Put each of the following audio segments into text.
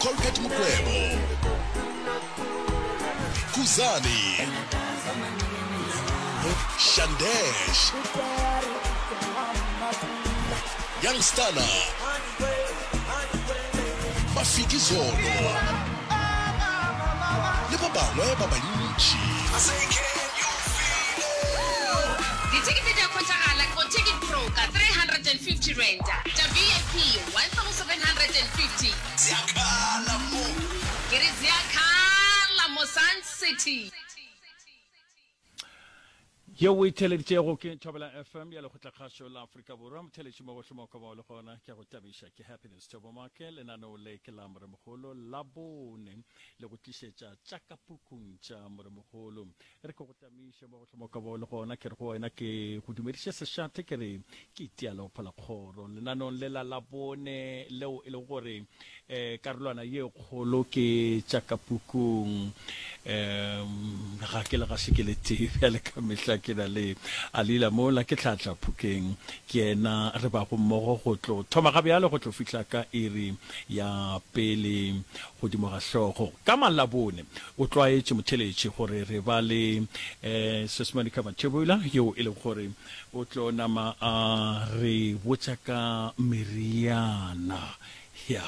Colbert Mukwevho, Khuzani, Shandesh, Young Stunna, Mafikizolo le ba bangwe ba bantši. Dithekete di a hwetšagala go Ticket Pro ka R350, tša VIP R1750. Ziakhala mo. Ke re ziakhala mo Sun City. Yeo o e theeleditšego ke Thobela FM ya Lekgotlakgašo la Afrika Borwa. Motheeletši mo gohle mo o ka bago le gona, ke a go tabiša. Ke Happiness Thobo Make. Lenaneo le ke la Moremogolo la bone le go tlišetša tša ka pukung tša Moremogolo. Re ke go tamiše mo gohle mo ka bago le gona, ke re go wena ke go dumediše sešate, ke re ke itia le go phola kgoro lenaneong le la Labone leo e lego gore um karolwana ye kgolo ke tša ka pukung. Um ga ke le gaše ke le tee bjale ka mehla ke na le Alila mola ke tlhatla phokeng, ke yena re bago mmogo go tlo thoma ga bjale go tlo fihla ka iri ya pele godimo ga hlogo. Ka Malabone o tlwaetše motheletši gore re ba le um Sis Monica Mathebula yeo e lego gore o tlo nama a re botša ka meriana ya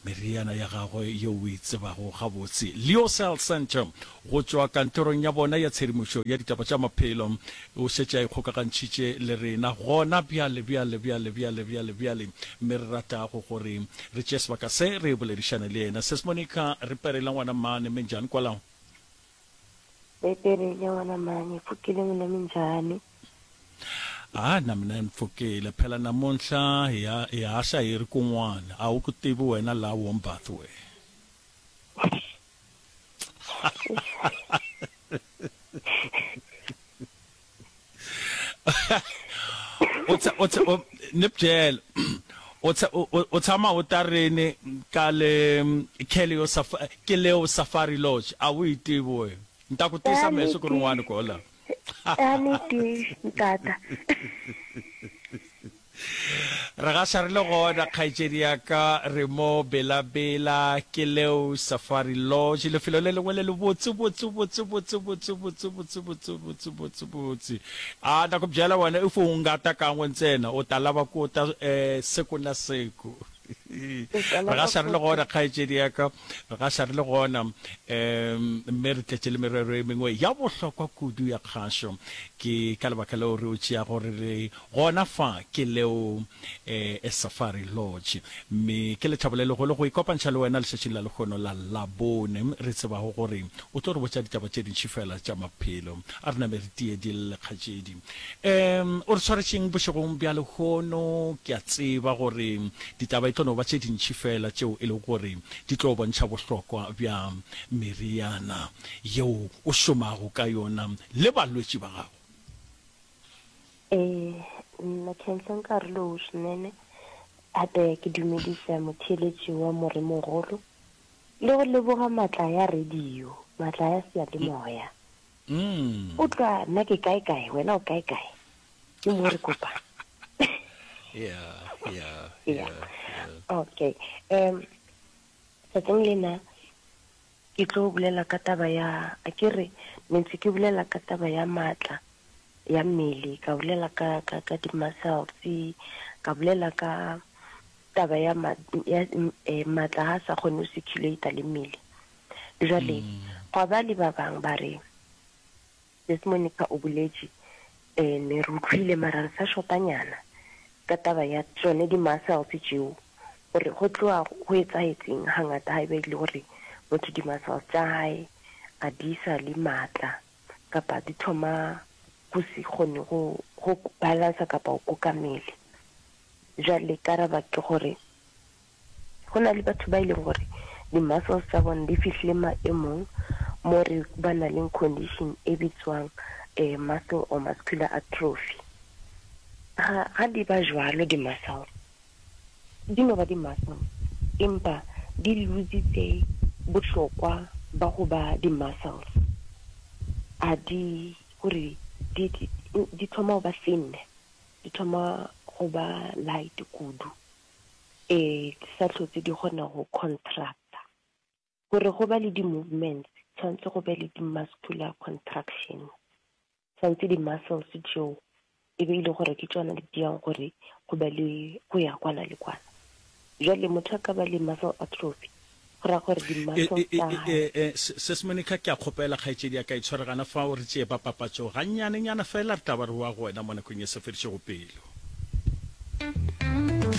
meriana ya gagwe yeo o e tsebago gabotse. Leo Cell Centre go tšwa kantorong ya bona ya tshedimošo ya ditaba tša maphelo o šetše a ikgokagantšhitše le rena gona bjale, bjale, bjale, bjale, bjale, bjale, mme re ratago gore re tšee sebaka se re boledišane le yena. Sis Monica, re perela ngwana mmane, minjhani kwalaho? Re perele ngwana mmane, pfukile n'wina minjhani? A na mina ni pfukile. Phela namuntlha hi ha, hi haxa hi ri kun'wana. A wu ku tivi wena laha Warmbath we. U tsha, u tsha, u, ni byela, u tsha, u, u tshama u ta rini ka le Keleo Safa, Keleo Safari Lodge? A wu yi tivi we. Ni ta ku tisa mehe siku rin'wana kola. A ni tivi, ntata. Re gaša re le gona, kgaetšedi ya ka, re mo Bela-Bela, ke leo Safari Lodge, lefelo le lengwe le le botse, botse, botse, botse, botse, botse, botse, botse, botse, botse, botse. A na ku byela wena, if u nga ta kan'we ntsena, u ta lava ku ta eh, siku na siku. Re gaša re le gona, kgaetšedi ya ka, re gaša re le gona, um mme re tletše le merero e mengwe ya bohlokwa kudu ya kgašo. Ke ka lebaka leo re o tšeago re le Gona fa ke leo e Safari Lodge. Mme ke lethabo le legolo go ikopantšha le wena letšatšing la lehono la Labone, re tsebago gore o tlo re botša ditaba tše dintši feela tša maphelo. A re name re tie di lle, kgatšedi. Um, o re swaretšeng bošegong bja lehono? Ke a tseba gore ditaba e tlo no ba tše dintši feela tšeo e lego gore di tlo bontšha bohlokwa bja meriana yeo o šomago ka yona le balwetši ba gago. Ee, nna khensa nkarhi lowu swinene hape ke dumedisa motheeletši wa Moremogolo le go leboga matla ya radio, matla ya seyalemoya. O tlwa nna ke kae kae, wena o kae kae, ke mo re kopang. Yeah, yeah, Yeah. yeah, yeah. Okay. Um, tsatsing lena ke tlo bolela ka taba ya, a ke re ne ntse ke bolela ka taba ya matla ya mmele, ka bolela ka, ka, ka di-muscles, ka bolela ka taba ya, ma, ya eh, matla ha sa kgone go circulate le mmele. Jwale, gwa ba le ba bang ba re, Sis Monica o boletše, eh, ne re utlwile mara re sa shotanyana ka taba ya tšone di-muscles tšeo, gore go tloga go etsahetseng hangata ha eba e le gore motho di-muscles tša hae a di sa le matla kapa di thoma go se kgone go, go balansa kapa go kuka mmele. Jwale karaba ke gore go na le batho ba e leng gore di-muscles tsa bona di fihlile maemong mo re ba na leng condition e bitswang eh, muscle or muscular atrophy. Ga, ga di ba jwalo di-muscles, di no ba di-muscles empa di lositse bohlokwa ba go ba di-muscles. A di, gore di, di, di thoma go ba thin, di thoma go ba light kudu. Ee, di sa hlotse di kgona go contracta. Gore go ba le di-movements, tshwanetse go be le di-muscular contractions. Tshwanetse di-muscles tšeo e be e le gore ke tšona di diang gore go be le go ya kwana le kwana. Jwale motho a ka ba le muscle atrophy, go ra gore di-muscles tsa hae. Sis Monica, ke a kgopela kgaetšedi ya ka e tshware gana fao, re tšee ba papatšo gannyanenyana fela, re tla ba re boa go wena mo nakong e sa fedišego pelo.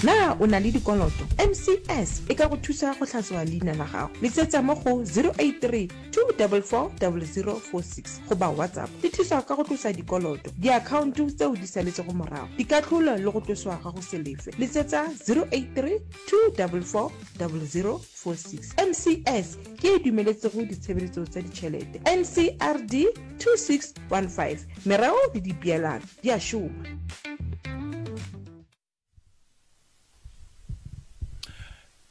Na o na le dikoloto? MCS e ka go thusa go hlatswa leina la gago. Letsetsa mo go 083 244 0046 goba WhatsApp. Di thusa ka go tlosa dikoloto, diakhaonto tseo di saletšego morago, dikahlolo le go tloswa ga go se lefe. Letsetsa 083 244 0046. MCS ke e dumeletsego ditshebeletso tsa ditšhelete. NCRD 2615. Mereo le dipeelano di a šoma.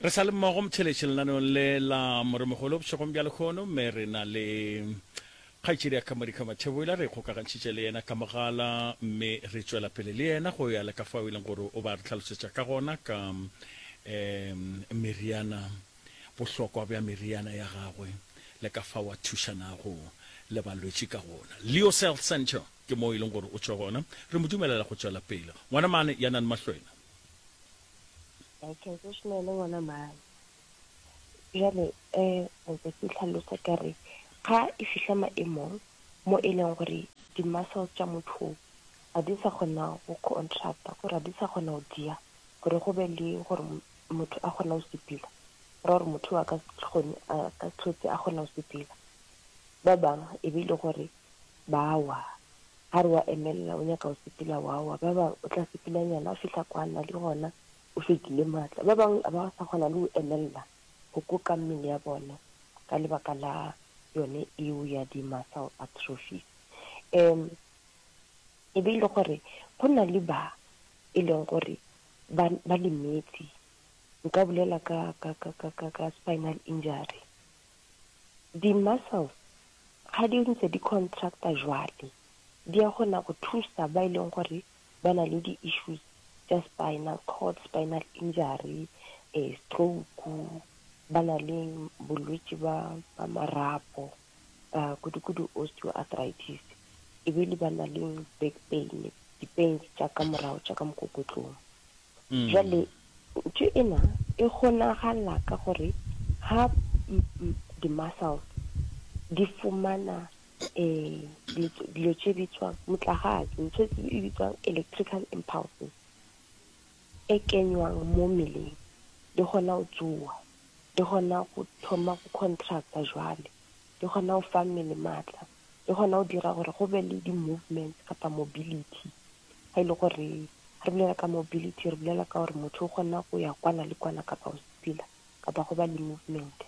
Re sa le mmogo motheletši lenaneong le la Moremogolo bošegong bja lekgono, mme re na le kgaetšedi ya ka Modika Mathebola, re ikgokagantšhitše le yena ka mogala mme re tšwela pele le yena go ya le ka fao e leng gore o ba re hlalosetša ka gona ka um meriana, bohlokwa bja meriana ya gagwe le ka fao a thušanago le balwetši ka gona. Leo's Health Centre Ke moo e leng gore o tšwa gona. Re mo dumelela go tšwela pele. Ngwana mane, ya nang mahlwena. Okay, ke šomele ngwana mane. Bjale, eh, ntse ke hlalosa ka re, ga e fihla maemong mo e leng gore di-muscles tša motho ga di sa kgona go contracta, gore ga di sa kgona go dia, gore go be le gore motho a kgona go sepela, go ra gore motho a ka se kgone, a ka se hlotse a kgona go sepela. Ba bangwe e be e le gore ba wa. Ga re wa emelela o nyaka go sepela wa wa. Ba bangwe o tla sepelanyana a fihla kwa na le gona o fedile maatla. Ba bangwe ba sa kgona le go emelela go koka mmele ya bona ka lebaka la yone eo ya di-muscle atrophies. Um e be e le gore go na le ba e leng gore ba, ba lemetse. Nka bolela ka, ka, ka, ka, ka, ka spinal injury. Di-muscles ga di ntse di contracta jwale, di a kgona go thusa ba e leng gore ba na le di-issues tša spinal cord, spinal injury, stroke, ba na le bolwetši ba ba marapo, kudu-kudu osteoarthritis, e be le ba na le back pain, di-pains tša ka morago tša ka mokokotlong. Jwale ntho ena e kgonagala ka gore ha di-muscles di fumana dilo tše bitswang motlagase, ntho e bitswang electrical impulses e kenywang mo mmeleng, di kgona go tsoga, di kgona go thoma go contracta jwale, di kgona go fa mmele matla, di kgona go dira gore go be le di-movements kapa mobility. Ga e le gore re bolela ka mobility, re bolela ka gore motho o kgona go ya kwana le kwana kapa go sepela kapa go ba le movement.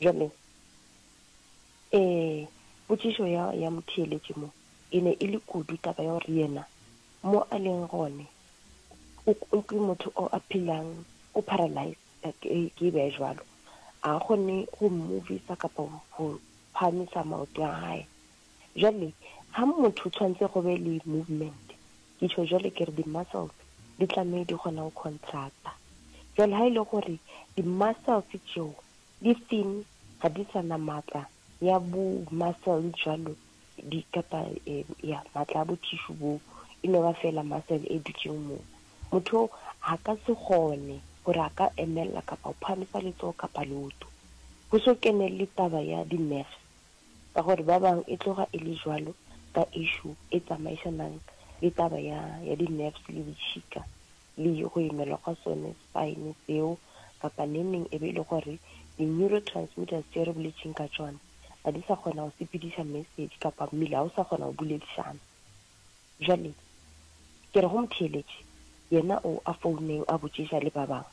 Jwale um potšišo ya, ya motheeletši mo e ne e le kudu taba ya gore yena mo a leng gone o, o ke motho o a phelang o paralyzed, ke, ke e beya jwalo. A kgone go movisa kapa go phahamisa maoto a hae. Jwale ha motho tshwantse go be le movement, ke tjho jwale ke re di-muscles di tlamehe di kgona go contracta. Jwale ha e le gore di-muscles tšeo di thin, ga di sa na matla ya bo muscle jwalo di kapa ya matla a bo tissue boo, e no ba fela muscle e dutšeng moo. Motho oo a ka se kgone gore a ka emella kapa go phahamisa letsogo kapa leoto. Go so kene le taba ya di-nerves. Ka gore ba bang e tloga e le jwalo ka issue e tsamaisanang le taba ya, ya di-nerves le ditšhika le go imelwa gwa sone spine seo, kapa neng neng e be e le gore di-neurotransmitters tše re boletšeng ka tšona ga di sa kgona go sepediša message kapa mmele ga o sa kgona go boledišana. Bjale ke re go motheeletši, yena o a founeng a botšiša le ba bangwe,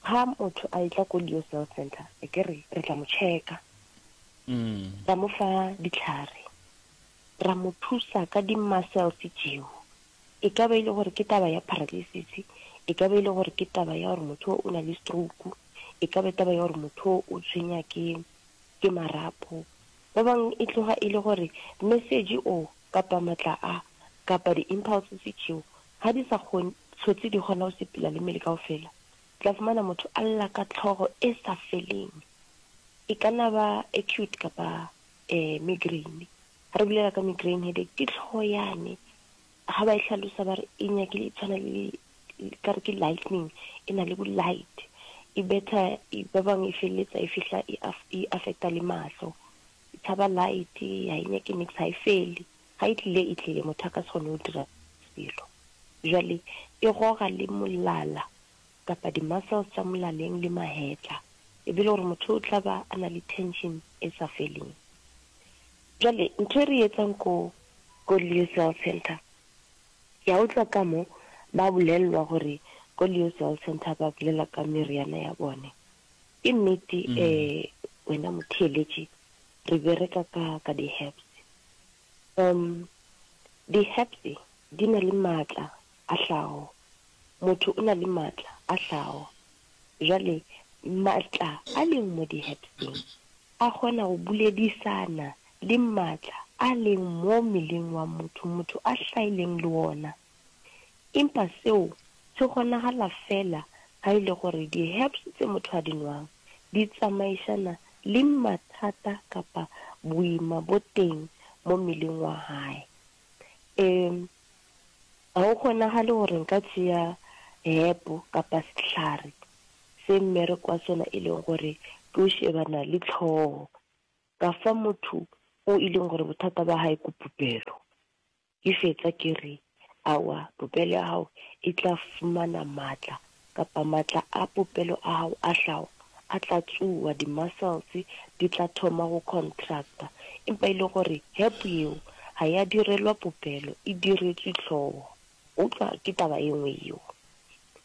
Ga motho a etla ko Leo's Health Centre, e ke re re tla mo checka, ra mo fa ditlhare, ra mo thusa ka di-muscles tšeo. E ka ba e le gore ke taba ya paralysis, e ka ba e le gore ke taba ya gore motho o na le stroke, e ka ba taba ya gore motho o tshwenya ke ke marapo. Ba bangwe e tloga e le gore message o kapa matla a kapa di-impulses tšeo ga di sa kgone hlotse di kgona go sepela le mmele kaofela. Tla fumana motho a lla ka hlogo e sa feleng. E ka na ba acute kapa eh, migraine. Ga re bolela ka migraine headache, ke tlhogo yane ga ba e hlalosa ba re e nyakile e tshwana le ka re ke lightning, e na le bo light, e betha ba bangwe e feleletsa e fihla e, e affecta le mahlo. E tshaba light, ga e nyake nix, ga e fele. Ga e tlile e tlile, motho a ka se kgone go dira selo. Jwale e goga le molala kapa di-muscles tša molaleng le mahetla, e be le gore motho o tla ba a na le tension e sa feleng. Jwale ntho e re e etsang ko ko Leo's Health Centre, ke a utlwa ka mo ba bolellwa gore ko Leo's Health Centre ba bolela ka meriana ya bone. Ke nnete um wena motheeletši, re bereka ka ka di-herbs. Um di-herbs di na le maatla a hlago. Motho o na le maatla a hlago. Jwale maatla a leng mo di-herbseng a kgona go boledisana le maatla a leng mo mmeleng wa motho, motho a hlaileng le wona. Empa seo se kgonagala feela ga e le gore di-herbs tse motho a di nwang di tsamaišana le mathata kapa boima bo teng mo mmeleng wa hae. Ee, ga go kgonagale gore nka tšea herb kapa sehlare se mmereko wa sona e leng gore ke o shebana le tlhogo, ka fa motho o e leng gore bothata ba hae ke popelo. Ke fetsa ke re, Aowa, popelo ya gago e tla fumana matla, kapa matla a popelo a gago a hlago a tla tsowa, di-muscles di tla thoma go contracta. Empa e le gore herb yeo ga ya direlwa popelo, e diretswe hlogo. Utlwa, ke taba e nngwe yeo.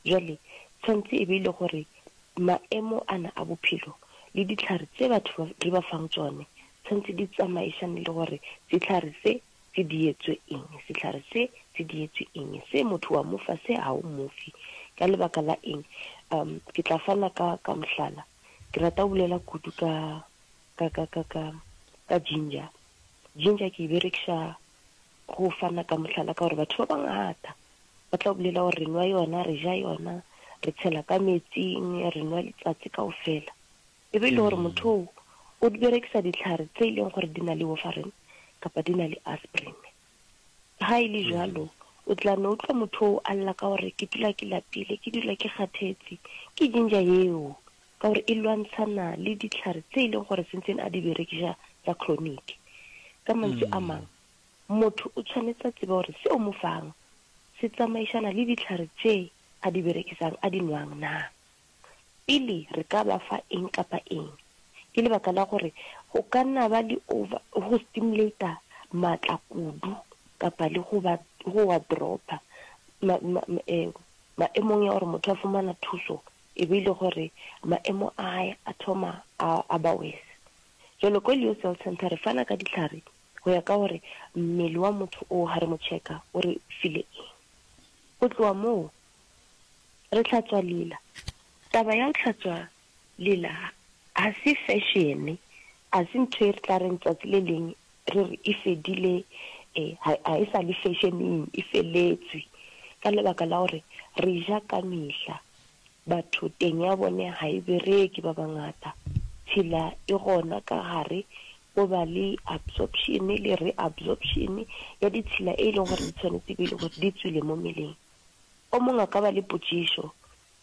Bjale, tshwanetse e be e le gore maemo ana a bophelo le dihlare tse batho ba, re ba fang tšone, tshwanetse di tsamaišane le gore sehlare se se dietswe eng, sehlare se se dietswe eng, se motho wa mo fa, se ga o mo fe, ka lebaka la eng. Um, ke tla fana ka, ka mohlala. Ke rata go bolela kudu ka, ka, ka, ka, ka, ka ginger. Ginger ke e berekiša go fana ka mohlala ka gore batho ba bangata ba tla bolela gore re nwa yona, re ja yona, re tshela ka metsing, re nwa letsatsi kaofela. E be e le gore motho oo o berekisa dihlare tse e leng gore di na le warfarin kapa di na le aspirin. Ga e le jwalo, o tla no utlwa motho oo a lla ka gore ke dula ke lapile, ke dula ke kgathetse. Ke ginger yeo ka gore e lwantshana le dihlare tse e leng gore sentsene a di berekiša tsa chronic. Ka mantswe a mang, motho o tshwanetse a tsebe gore se o mo fang se tsamaišana le dihlare tše a di berekisang, a di nwang na. Pele re ka ba fa eng kapa eng, ke lebaka la gore go ka nna ba le over, go stimulata matla kudu kapa le go ba, go wa dropper ma, ma, eh, maemong ya gore motho a fumana thuso e be e le gore maemo a hae a thoma a, a ba worse. Jwale ko Leo's Health Centre re fana ka dihlare go ya ka gore mmele wa motho oo ha re mo checka o re file eng. Go tloga moo Re hlatswa lela. Taba ya go hlatswa lela ga se fashion, ga se ntho e re tla reng tsatsi le leng re re e fedile, ga e sa le fashioneng, e feletswe. Ka lebaka la gore re ja ka mehla, batho teng ya bone ga e bereke ba bangata, tshila e gona ka gare, go ba le absorption le reabsorption ya ditshila e leng gore di tshwanetse e be e le gore di tswile mo mmeleng. O mongwe a ka ba le potšišo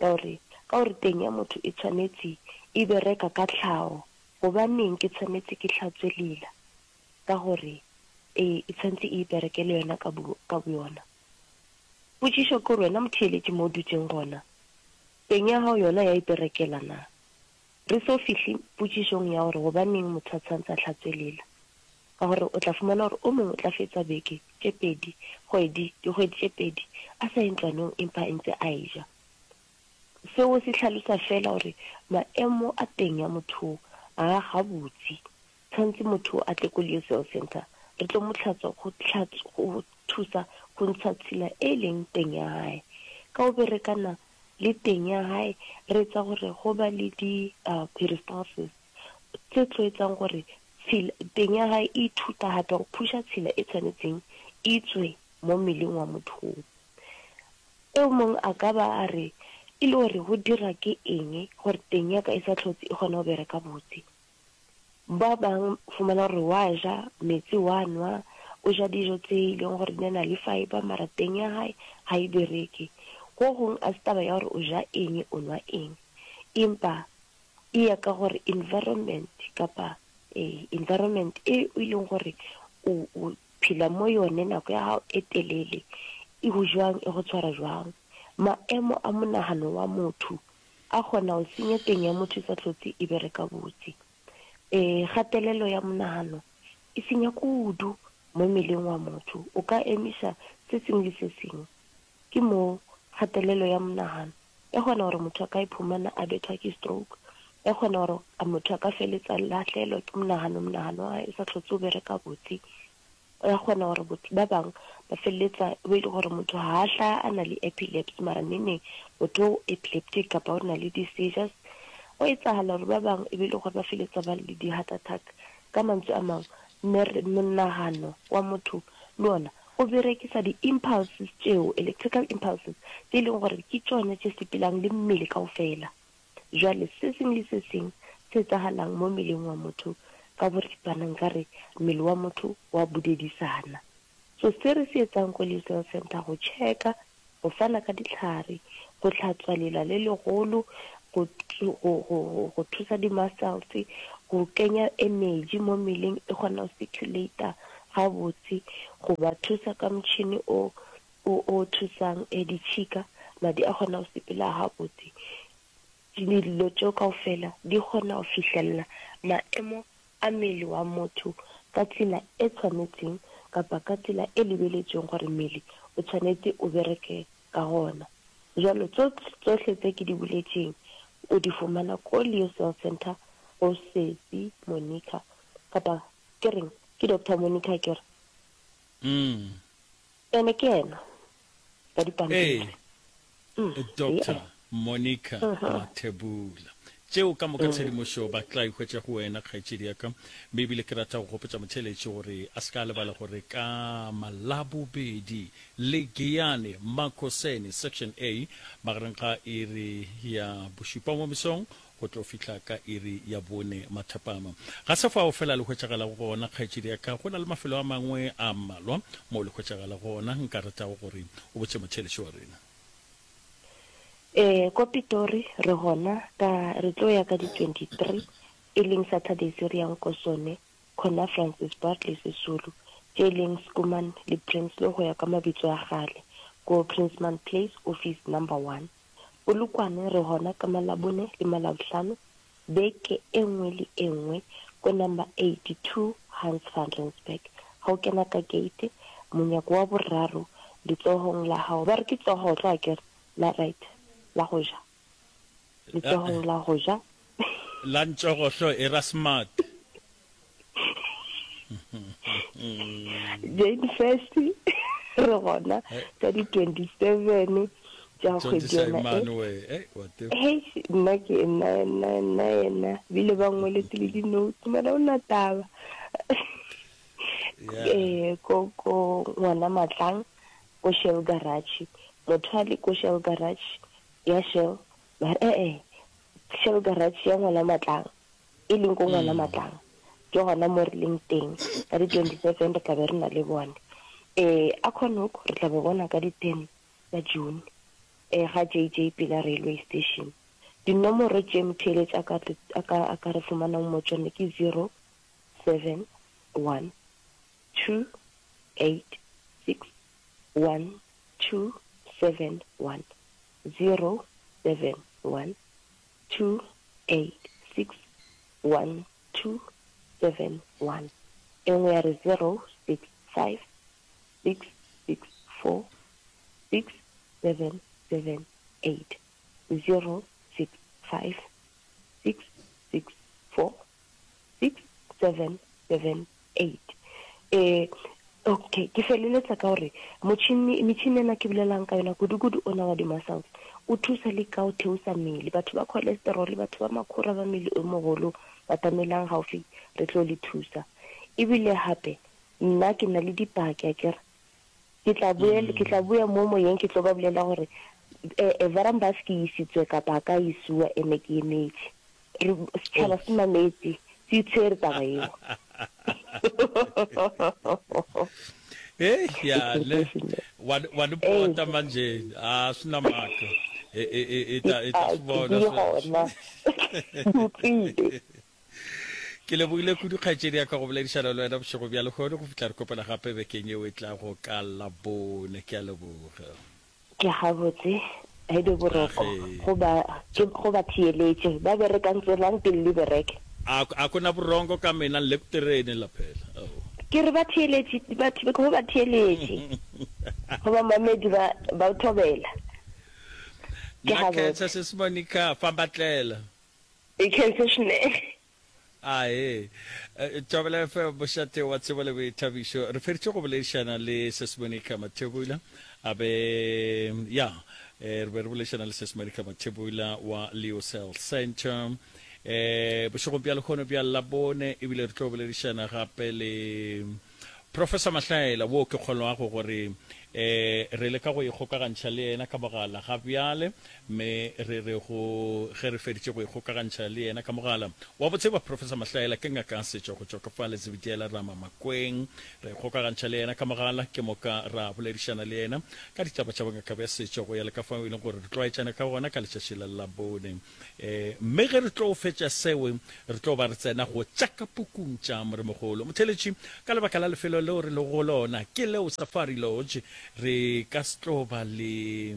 ya gore, Ka gore teng ya motho e tshwanetše e bereka ka tlhago, gobaneng ke tshwanetše ke hlatswe lela? Ka gore e, e tshwanetše e iperekele yona ka bo, ka boyona. Potšišo ke gore wena motheeletši mo o dutšeng gona, teng ya gago yona ya iperekela na? Re so fihle potšišong ya gore gobaneng motho a tshwanetse a hlatswe lela. Ka gore o tla fumana gore o mongwe o tla fetsa beke tše pedi, kgwedi, dikgwedi tše pedi a sa ye ntlwanong empa a ntse a eja. Seo se hlalosa feela gore maemo a teng ya motho oo ga a gabotse. Tshwanetse motho oo a tle ko Leo Cell Centre re tlo mo hlatswa go go thusa go ntsha tshila e leng teng ya hae. Ka go berekana le teng ya hae re etsa gore go ba le di peristalsis tse tlo etsang gore tshila teng ya hae e ithuta hape go phusha tshila e tshwanetseng e tswe mo mmeleng wa motho oo. E mong a ka ba a re e le gore go dira ke eng gore teng ya ka e sa hlotse e kgona go bereka botse. Ba bang o fumana gore wa ja, metsi wa nwa, o ja dijo tse e leng gore di na le fibre mara teng ya hae ga e bereke. Go gong a se taba ya gore o ja eng o nwa eng, empa e ya ka gore environment kapa ee environment e e leng gore o o phela mo yone nako ya gago e telele e go jwang e go tshwara jwang. Maemo a monagano wa motho a kgona go senya teng ya motho e sa hlotse e bereka botse. Ee, kgatelelo ya monagano e senya kudu mo mmeleng wa motho. O ka emiša se sengwe le se sengwe. Ke moo kgatelelo ya monagano e kgona gore motho a ka iphumana a bethwa ke stroke, e kgona gore motho a ka feletsa a lahlehelwa ke monagano, monagano wa hae o sa hlotse o bereka botse. Ya kgona gore botho ba bang ba feleletsa e be e le gore motho ga a hlaya a na le epilepsy mara neneng motho o epileptic kapa o na le di-seizures. Go etsagala gore ba bang e be e le gore ba feleletsa ba le di-heart attack. Ka mantswe a mangwe, monagano wa motho le ona o berekisa di-impulses tšeo, electrical impulses, tše e leng gore ke tšone tše sepelang le mmele kaofela. Jwale se seng le se seng se etsagalang mo mmeleng wa motho ka boripana nkare mmele wa motho wa budedisana. So se re se etsang ko Leeuws Health Centre go checka, go fana ka dihlare, go hlatswa lela le legolo, go, go, go, go thusa di-muscles, go kenya energy mo mmeleng e kgona go circulate gabotse, go ba thusa ka motšhini o o o thusang e ditšhika, madi a kgona go sepela gabotse. Dilo tšeo kaofela di kgona go fihlelela maemo a mmele wa motho ka tsela e tshwanetseng kapa ka tsela e lebeletšweng gore mmele o tshwanetse o bereke ka gona. Jwalo tsohle tse ke di boletšeng o di fumana ko Leo Cell Centre go Sesi Monica kapa ke reng ke Doctor Monica akere? Ene ke yena ka dipampiri. Ee, Doctor Monica Mathebula. Tšeo ka moka tshedimošo ba tla e hwetša go wena, kgaetšedi ya ka. Mme ebile ke rata go gopotša motheeletši gore a se ka a lebala gore ka Malabobedi le Giyani Makhoseni, Section A, magareng ga iri ya bošupa mo mesong go tlo fihla ka iri ya bone mathapama. Ga se fao fela le hwetšagalago gona, kgaetšedi ya ka. Go na le mafelo a mangwe a mmalwa moo le hwetšagalago gona. Nka ratago gore o botše motheeletši wa rena. Ee, ko Pitori re gona ka, re tlo ya ka di 23, e leng Saturday se re yang ko sone, khona Francis Bartley Sisulu, tše e leng Schoeman le Prinsloo go ya ka mabitso a kgale, ko Princeman Place, office number one. Polokwane re gona ka Malabone le Malabohlano beke e nngwe le e nngwe ko number 82 Hans van Rensburg. Ga o kena ka gate, monyako wa boraro letsogong la gago, ba re ke tsogohlo akere, la right, la go ja, letsogong la go ja. La ntšogohlo e ra smart. Jane First re gona ka di 27 tša kgwedi yona e. Hei, nna ke nna nna nna yena bile ba ngweletse le di-notes mara o na taba eh ko ko ngwana matlang ko Shell garage motho a le ko Shell garage ya Shell mara eh eh Shell garage ya ngwana matlang e leng ko Ngwana Matlang, ke gona mo re leng teng. Ka di 27 re tla be re na le bone. Eh, Acornhoek re tla be bona ka di 10 tsa June, eh, ga JJ Pila Railway Station. Dinomoro tše motheeletši a ka, a ka, a ka re fumanang mo tšone ke 0, 7, 1, 2, 8, 6, 1, 2, 7, 1, 0, 7, 1, 2 8 6 1 2 7 1 E nngwe ya re 0 6 5 6 6 4 6 7 7 8 0 6 5 6 6 4 6 7 7 8 E, okay, ke feleletsa ka gore motšhini, metšhini ena ke bolelang ka yona, kudu-kudu ona wa di-muscles, o thusa le ka go theosa mmele. Batho ba cholesterol, batho ba makhura ba mmele o mogolo, batamelang gaufi, re tlo le thusa. Ebile gape, nna ke na le dipaki, akere. Ke tla boel, ke tla boya mo moyeng ke tlo ba bolela gore, eh, eh, Varambas ke isitswe kapa ka isiwa ene ke emetše. Re, setšhaba se mametse. Ke itshwere taba yeo. Hey, ya ne wa wa ni pota manje a swi na mhaka i ta i ta swi vona sweswo. Ke lebogile kudu kgaetšedi ya ka go boledišana le wena bošego bja lehono go fihla re kopana gape bekeng yeo e tlago ka Labone. Ke a leboga. Ke gabotse, he be boroko go ba, ke go ba theeletše ba berekang tswelang pele le bereke. A, a ku na vurhongo ka mina ni le ku tirheni la phela. Oh. Ke re ba theeletše, ba, go ba theeletše, go bamamedi ba, ba thobela. Ke Na gabotse. khensa sesi Monica, famba tlela. E khense swinene. Ae. Thobela FM, mošate wa tsebo le boithabišo. Re feditše go boledišana le Sis Monica Mathebula. A be, ya, re be re boledišana le Sis Monica Mathebula wa Leo's Health Center. Eh, bošegong bja lehono bja Labone, ebile re tlo boledišana gape le Professor Mahlaela, wo ke kgolwago gore eh re leka go ikgokagantšha le yena ka mogala ga bjale, mme re re go ge re feditše go ikgokagantšha le yena ka mogala. Wa bo tseba, Professor Mahlaela ke ngaka ya setšo go tšwa ka fa Letsebediela Rama Makweng. Ra ikgokagantšha le yena ka mogala, ke moka ra boledišana le yena ka ditaba tša bongaka bja setšo go ya le ka fao e leng gore re tlwaetšane ka gona ka letšatši la Labone. Mme ge re tlo fetša seo, re tlo ba re tsena go tša ka pukung tša Moremogolo. Motheeletši, ka lebaka la lefelo leo re lego go lona, ke leo Safari Lodge, re ka se tlo ba le,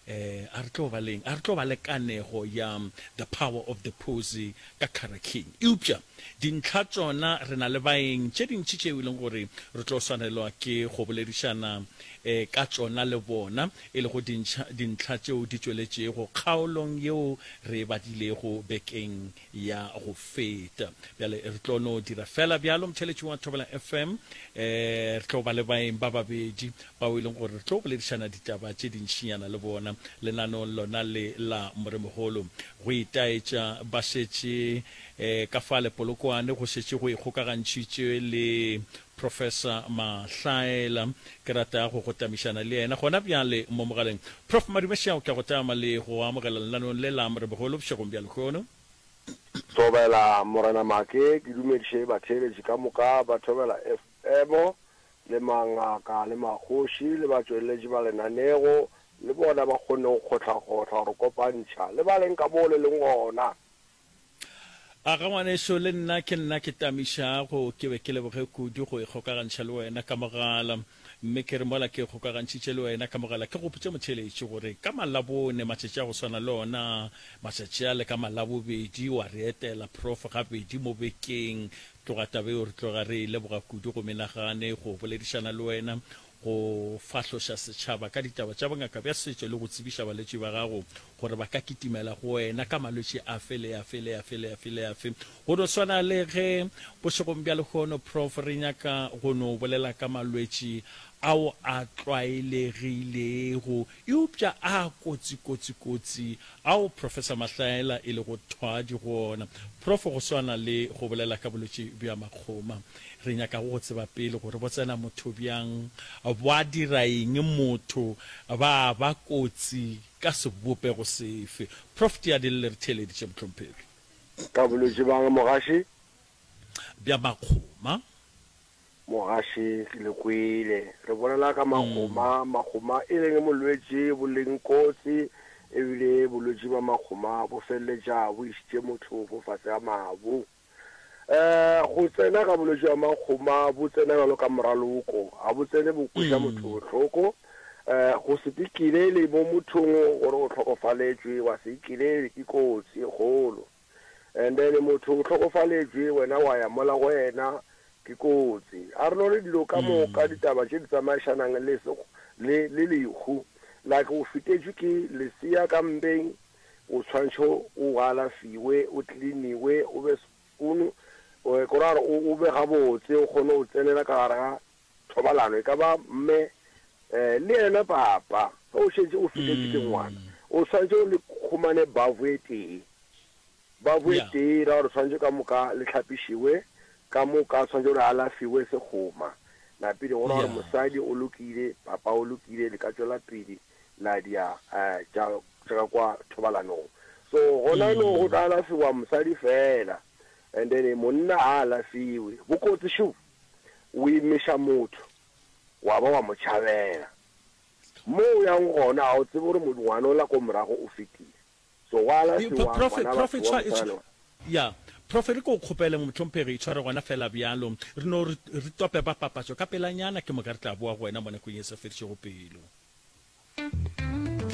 eh, a re tlo ba leng? A re tlo ba le kanego ya The Power of the Pozi ka Kara King. Eupša dintlha tšona re na le baeng tše dintši tšeo e leng gore re tlo swanelwa ke go boledišana eh, ka tšona le bona. e lego dintlha tšeo di tšweletšego kgaolong yeo re e badilego bekeng ya go feta. Bjale re tlo no dira feela bjalo, motheeletši wa Thobela FM, re tlo ba le baeng ba babedi bao e leng gore re tlo boledišana ditaba tše dintšinyana le bona lenaneong lona le la Moremogolo. Go itaetša ba šetše ka fale Polokwane, go šetše go ikgokagantšhitšwe le Professor Mahlaela, ke rata go go tamišana le yena gona bjale mo mogaleng. Prof Madume Šao, ke a go tama le go amogela lenaneong le la Morebogolo bošegong bja lehono. Thobela Morena Make, ke dumediše batheeletši ka moka ba Thobela FM, le mangaka le magoši le batšweletši ba lenanego, le bona ba kgonne go kgohlakgohla go re kopantšha le ba leng ka moo le leng gona. A ga ngwaneso, le nna ke nna ke tamišago, ke be ke leboge kudu go ikgokagantšha le wena ka mogala. Mme ke re mola ke ikgokagantšhitše le wena ka mogala, ke gopotše motheeletši gore ka Malabone, matšatši a go swana le ona matšatši ale, ka Malabobedi wa re etela, Prof, gabedi mo bekeng. Tloga taba yeo re tloga re e leboga kudu go menagane go boledišana le wena, go fahloša setšhaba ka ditaba tša bongaka bja setšo le go tsebiša balwetši ba gago gore ba ka kitimela go wena ka malwetši afe le afe le afe le afe le afe. Go no swana le ge bošegong bja lehono, Prof, re nyaka go no bolela ka malwetši ao a tlwaelegilego eupša a kotsi, kotsi, kotsi, ao Professor Mahlaela e lego thwadi go ona. Prof, go swana le go bolela ka bolwetši bja makgoma, Re nyakago go tseba pele gore bo tsena motho bjang, bwa dira eng motho, ba ba kotsi ka sebopego sefe. Prof Tiadille re theeleditše mohlomphegi. Ka bolwetši bang mogaši? Bja makgoma. Mogaši ke le kwele re bolela ka makgoma, makgoma e leng molwetši bo leng kotsi ebile bolwetši bja makgoma bo feleletša bo išitše motho fo fase ga mabu. Go tsena ga bolwetši bja makgoma bo tsena bjalo ka moraloko, ga bo tsene bo kweša motho bohloko. Go se ikilele mo mothong gore o hlokofaletšwe, wa se ikilele ke kotsi e kgolo. And then motho o hlokofaletšwe, wena wa ya mola go yena, ke kotsi. A re no re dilo ka moka ditaba tše di tsamaišanang le le le lehu, like o fetetšwe ke lesea ka mpeng, O tshwantshe o alafiwe, o tliniwe, o be spoon, ke ra gore o be gabotse, o kgone go tsenela ka gare ga thobalano, e ka ba mme le yena papa. Ge o šetše o fetetše ke ngwana, o tshwanetse o le khumane bavu e tee. Bavu e tee e ra gore tshwanetse ka moka le hlapišiwe, ka moka tshwanetse le alafiwe sekgoma. Napile go ra gore mosadi o lokile, papa o lokile, le ka tšwela pele la dia tša tša ka kwa thobalanong. So gona no go tla alafiwa mosadi fela. And then monna ga a alafiwe. Bokotsi šo, o imiša motho wa ba wa mo tšhabela. Mo o yang gona ga o tsebe gore ngwana ola ko morago o fetile. So go alafiwa Profe, ngwana profe, batho wa tshwa, go tshwana le wena. Ya, Profe, re ko kgopele, mohlomphegi, itshware gona feela bjalo. Re no re, re tope ba papatšo ka pelanyana, ke moka re tla boa go wena mo nakong ye e sa fedišego pelo.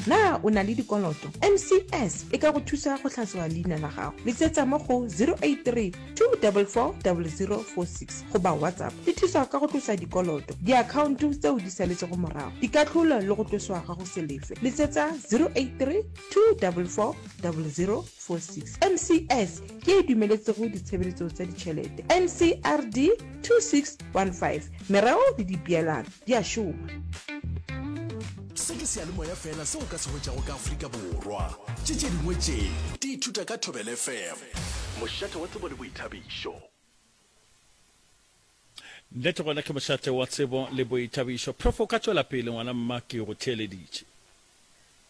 Na o na le dikoloto? MCS e ka go thusa go hlatswa leina la gago. Letsetsa mo go 083 244 0046 goba WhatsApp. Di thusa ka go tlosa dikoloto, diakhaonto tseo di saletšego morago, dikahlolo le go tloswa ga go se lefe. Letsetsa 083 244 0046. MCS ke ye e dumeletsego ditshebeletso tša ditšhelete. NCRD 2615. Mereo le dipeelano di a šoma. Se ke seyalemoya feela seo o ka se hwetšago ka Afrika Borwa. Tše tše dingwe tše di ithuta ka Thobela FM. Mošate wa tsebo le boithabišo. Nnete gona ke mošate wa tsebo le boithabišo. Prof o ka tšwela pele ngwana mma ke go theeleditše.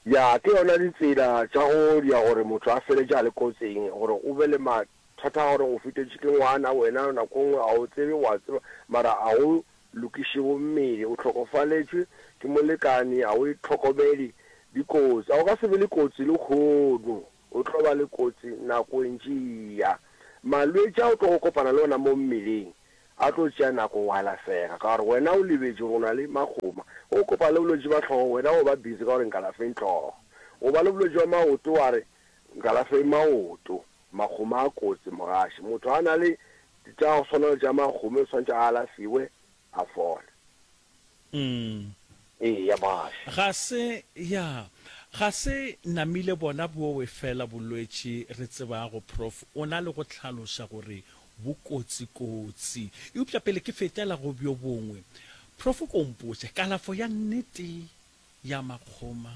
Ya, ke yona ditsela tša go dia gore motho a feletše a le kotsing, gore o be le mathata a gore o fetetše ke ngwana, wena nako nngwe ga o tsebe, wa tseba mara a go lokišego mmele, o hlokofaletšwe ke molekani, ga o itlhokomele, dikotsi. A o ka se be le kotsi lehono, o tlo ba le kotsi nako e ntše e ya. Malwetši a o tlogo kopana le ona mo mmeleng a tlo tšea nako go alafega ka gore wena o lebetše gore o na le makgoma. Ge o kopana le bolwetši ba hlogo, wena o ba busy ka gore nkalafeng hlogo. O ba le bolwetši ba maoto wa re nkalafeng maoto. Makgoma a kotsi mogaši. Motho a na le tša go swana le tša makgome o swanetše a alafiwe a fole. Eya mogaši. Ga se, ya, ga se namile bona bowe fela bolwetši re tsebago, Prof o na le go hlaloša gore bo kotsi kotsi. Eupša pele ke fetela go bjo bongwe, Prof ko mpotše, kalafo ya nnete ya makgoma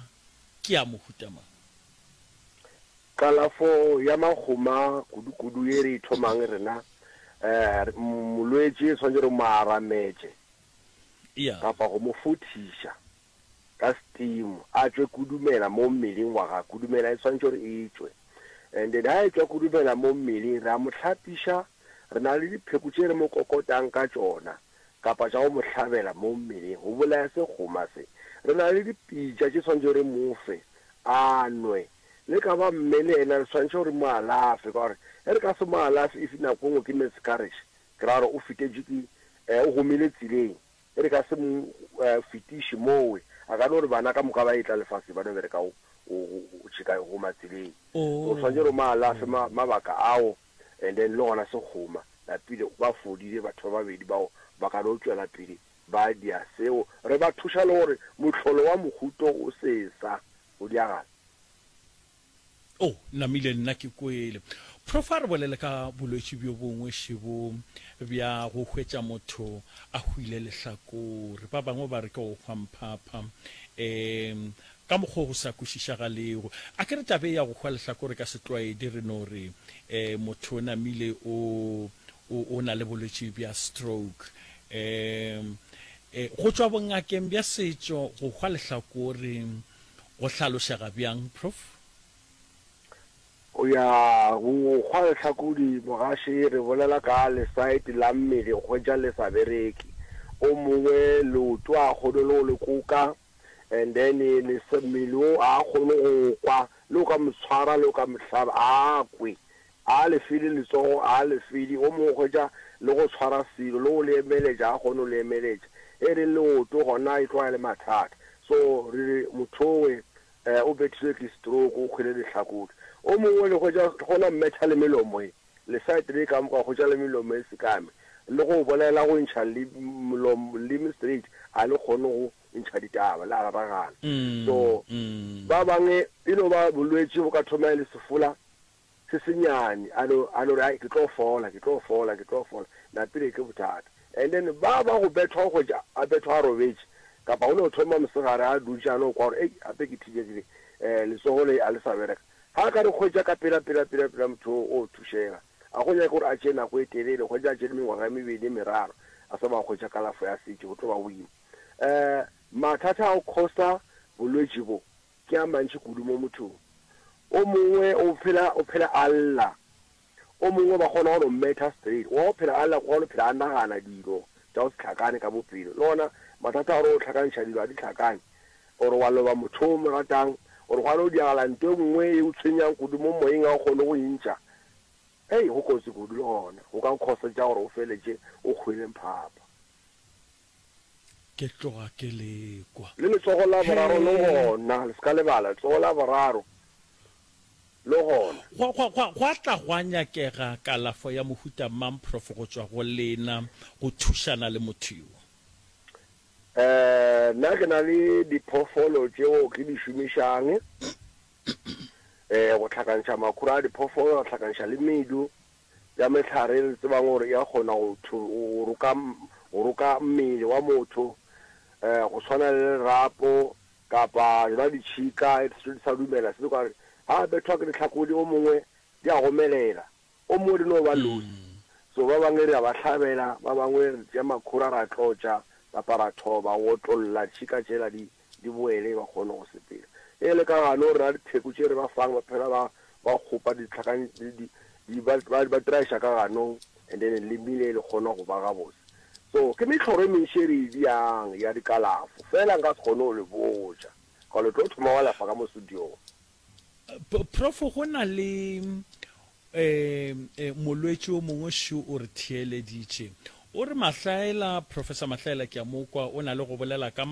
ke ya mohuta mang? Kalafo ya makgoma kudu-kudu ye re e thomang rena, molwetši e swanetše re mo arametše kapa go mo fothiša ka steam a tšwe kudumela mo mmeleng wa gagwe. Kudumela e swanetše gore e tšwe. And then ha e tšwa kudumela mo mmeleng re a mo hlapiša, re na le dipheko tše re mo kokotang ka tšona kapa tša go mo hlabela mo mmeleng go bolaya sekgoma se. Re na le dipitša tše swanetše re mo fe a nwe. Le ka ba mme le yena re swanetše gore mo alafe ka gore ge re ka se mo alafe if nako e nngwe ke miscarriage ke ra gore o fetetšwe ke o gomile tseleng e re ka se mo fetiše mowe a ka no re bana ka moka ba etla lefaseng ba no bereka go tšheka go goma tseleng. So o swanetše gore o mo alafe mabaka ao and then le gona sekgoma lapile ba fodile batho ba babedi bao ba ka no tšwela pele ba dia seo re ba thuša le gore mohlolo wa mohuto o se sa go diagala. Oh, namile nna ke kwele. Prof a re bolele ka bolwetši bjo bongwe šebo bja go hwetša motho a hwile lehlakore. Ba bangwe ba re ke go hwa mphapha. Um ka mokgwa o go sa kwešišagalego. A ke re taba e ya go hwa lehlakore ka setlwaedi re no re um motho o namile o, o, o na le bolwetši bja stroke. Um go tšwa bongakeng bja setšo go hwa lehlakore go hlalošega bjang, Prof? Go ya go hwa lehlakodi mogaši re bolela ka lesaete la mmele hwetša le sa bereke o mongwe leoto a kgone le go le koka and then mmele o a kgone go kwa le o ka mo tshwara le o ka mo hlaba a kwe a le fele letsogo a le fele o mongwe hwetša le go tshwara selo le go le emeletša a kgone go le emeletša e re leoto gona e tloga e le mathata so re re mothowe O bethilwe ke stroke, o hwele lehlakore. O mongwe le hwetša gona mmetha le melomo e, lesaete le ka moka hwetša le melomo e sekame, le go bolela go ntšha le molomo leme straight a le kgone go ntšha ditaba, le a raragana. So ba bangwe e no ba bolwetši bo ka thoma e le sefola se senyane, a no, a no re, ai, ke tlo fola, ke tlo fola, ke tlo fola, napile ke bothata. And then ba ba go bethwa go hwetša a bethwa a robetše, kapa go no thoma mosegare a dutše a no kwa gore, ei, gape ke thijegile, um letsogo le a le sa bereka. Ga a ka re hwetša ka pela, pela, pela, pela motho o, o thušega. A go nyake gore a tšee nako e telele, hwetša a tšere mengwaga e mebedi, e meraro, a sa ba hwetša kalafo ya setšo, go tlo ba boima. Um mathata a go khosa bolwetši bo, Ke a mantši kudu mo mothong. O mongwe o phela, o phela a lla. O mongwe ba kgona go no mmetha straight, wa go phela a wa go phela a nagana dilo tša go se hlakane ka bophelo. Le gona mathata a gore o hlakantšha dilo ga di hlakane, or wa loba motho o mo ratang, or gwa no diagala nto e nngwe e o tshwenyang kudu mo moyeng ga o kgone go e ntšha. Hei, go kotsi kudu le gona, go ka go causetša gore o feletše o hwele mphapha. Ke tloga ke le kwa. Le letsogo la boraro le gona, le se ka lebala, letsogo la boraro le gona. Gwa, gwa, gwa, gwa tla gwa nyakega kalafo ya mohuta mang, Prof, go tšwa go lena, go thušana le motho yo? Eh, nna ke na le diphoofolo tšeo ke di šomišang, eh, go hlakantšha makhura a diphoofolo, ra hlakantšha le medu. ya mehlare e re tsebang gore e a kgona go go roka go roka mmele wa motho um go tshwana le lerapo kapa yona ditšhika e di sa dumela se ka ha bethwa ke ditlhakodi o mongwe di a gomelela o mongwe di no ba loose so ba bangwe re a ba hlabela ba bangwe re tšea makhura ra tlotša kapa ra thoba go otlolla tšhika tšela di di boele ba kgone go sepela. Ge e le ka gano rena dipheko tše re ba fang ba phela ba ba kgopa ditlhakang di di ba ba ba traiša ka ganong and then lemile le kgona go ba gabotse. So ke mehloro e mentši e re e diang ya dikalafo fela nka se kgone go le botša ka le tlo thoma wa lefa ka mo studiong. Prof go na le um molwetši o mongwe šo o re theeleditše o re Mahlaela, Professor Mahlaela ke a mo kwa o na le go bolela ka.